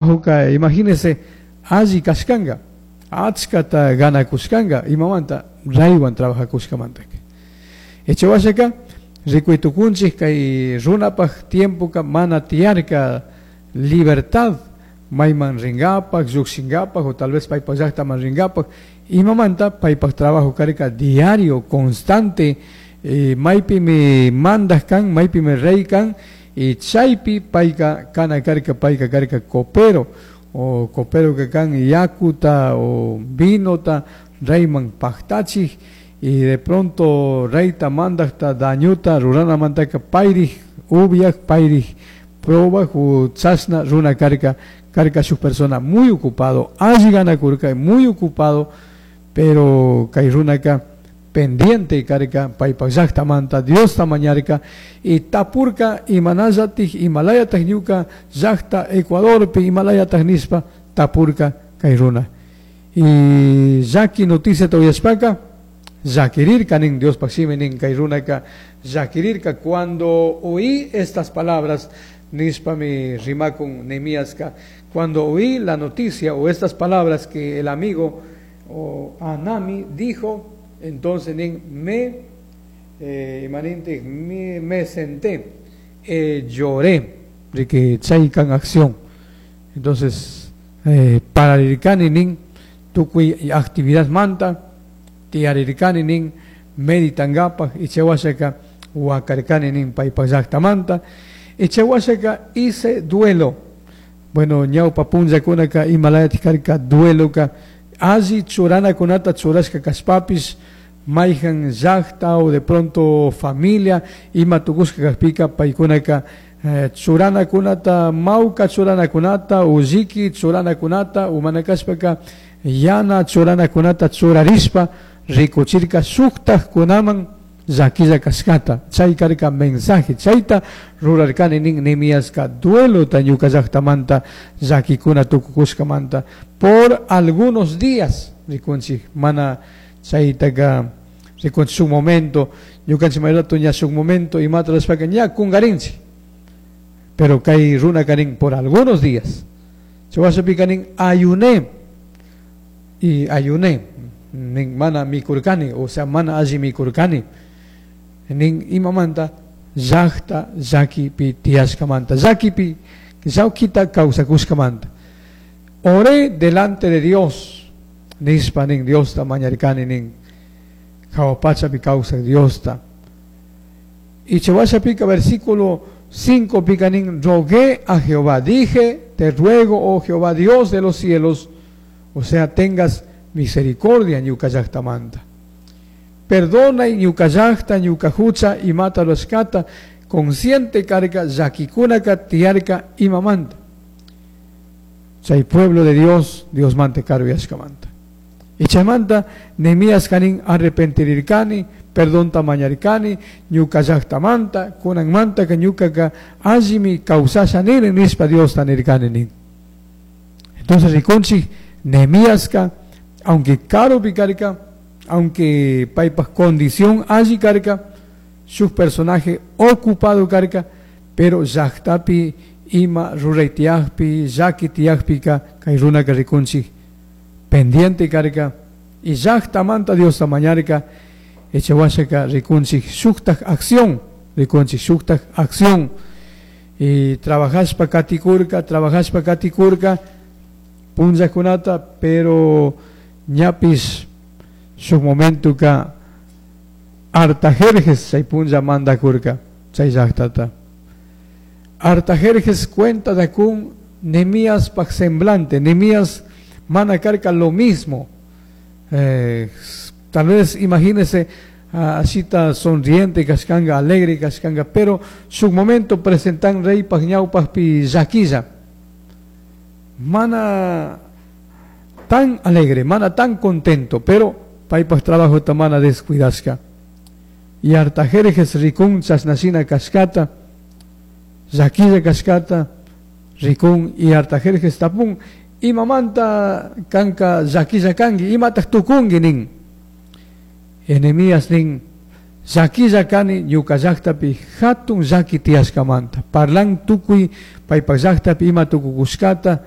Trabajoca, imagínese, alli cashcanga, achcata ganacushcanga, imamanta raywan trabajacushcamantaca. Echawashaka, ricui tucunchij kay runapaj tiempoca mana tiyarca libertad mayman ringapaj, llujshingapaj o tal vez paypaj llajtaman ringapaj, imamanta paypaj trabajo carca diario, constante, maypimi mandaj kan, maypimi rey kan, y chaypi payka kana karka, payka karka copero, o copero que kan yakuta o vinota reyman pajtachij, y de pronto reyta mandajta dañuta ruranamantaka payrij ubiaj, payrij probaj o chashna runa karka, karka shuk persona muy ocupado, alli ganakurka, muy ocupado, pero kay runaka pendiente karka, paypaj llajtamanta Diosta mañarka y tapurka imanallatik, imalayataj ñuka llajta Ecuadorpi, imalayataj nishpa tapurka kay runa. Y llaki noticiata uyashpaka llakirirka nin Diospaj shimi nin kay runaka llakirirka cuando oí estas palabras, nishpami rimakun Nehemiaska, cuando oí la noticia o estas palabras que el amigo o Anami dijo, entonces nin me imaninte, me senté, lloré, de que chaykan acción. Entonces, pararirkani nin tukuy actividad manta, tiyarirkani nin meditangapaj, y chawashaka wakarkani nin paypaj llajtamanta, y chawashaka hice duelo. Bueno, ñawpa punllakunaka imalayatik karka dueloka, alli churanakunata churashka kashpapis, mayjan llajta o de pronto familia ima tukushka kajpika paykunaka churanakunata, mawka churanakunata, ulliki churanakunata, umana kashpaka yana churanakunata churarishpa rikuchirka shuktajkunaman llakilla kashkata. Chay karka mensaje, chayta rurarkani nin Nehemiaska duelota ñuka llajtamanta llakikuna tukukushkamanta por algunos días rikunchik, mana chaytaka rikunchik shuk momento, ñukanchik may rato ña shuk momento imata rurashpaka ña kungarinchik, pero kay runa kanin por algunos días. Chawashapika nin ayuné y ayuné nin mana mikurkani, o sea mana alli mikurkani nin imamanta llajta llakipi tiyashkamanta, llakipi llawkita kawsakushkamanta. Oré delante de Dios, nishpa nin Diosta mañarkani nin jahua pachapi kawsak Diosta. Y chawashapika versículo 5 pika nin rogué a Jehová, dije, te ruego, oh Jehová Dios de los cielos, o sea, tengas misericordia ñuka llajtamanta. Perdona y ñuka llajta, ñuka hucha y mata los kata, consciente carga, llakikunaka, tiarka y mamanta. Chay pueblo de Dios, Dios mante karu yashkamanta. Y chaymanta, Nehemías kanin arrepentirirkani, perdón mañarikani, ñuka llajtamanta, kunanmanta ka ñuka ka allimi kawsasha nini, nishpa Dios tanirkani nin. Entonces rikunchik, Nehemías ka, aunque karupi karka, aunque paypaj condición alli karka, shuk personaje ocupado karka, pero llajtapi ima ruray tiyajpi, llaki tiyajpika, kay runaka rikunchik pendiente karka, y llajtamanta Diosta mañarka, echawashaka rikunchik shuktaj acción, rikunchik shuktaj acción, y trabajashpa katikurka, trabajashpa katikurka, punllakunata, pero ñapis shuk momentuka Artajerjes chay punlla mandakurka chay llajtata. Artajerjes cuenta de kun Nehemías paj semblante, Nehemías mana karka lo mismo. Tal vez imagínese así está sonriente, kashkanga, alegre, kashkanga, pero su momento presentan rey paj ñawpaj pi llaquilla. Mana tan alegre, mana tan contento, pero paypaj trabajo ta mana descuidashka. Y Artajerjes rikun chashnashina kashkata, llaquilla kashkata, rikun y Artajerjes tapun, imamanta kanka llaquilla kanki, imataj tukunki nin. Nehemías nin, llaquilla kani ñuka llajtapi hatun llaki tiyashkamanta. Parlan tukuy paypaj llajtapi ima tukukushkata,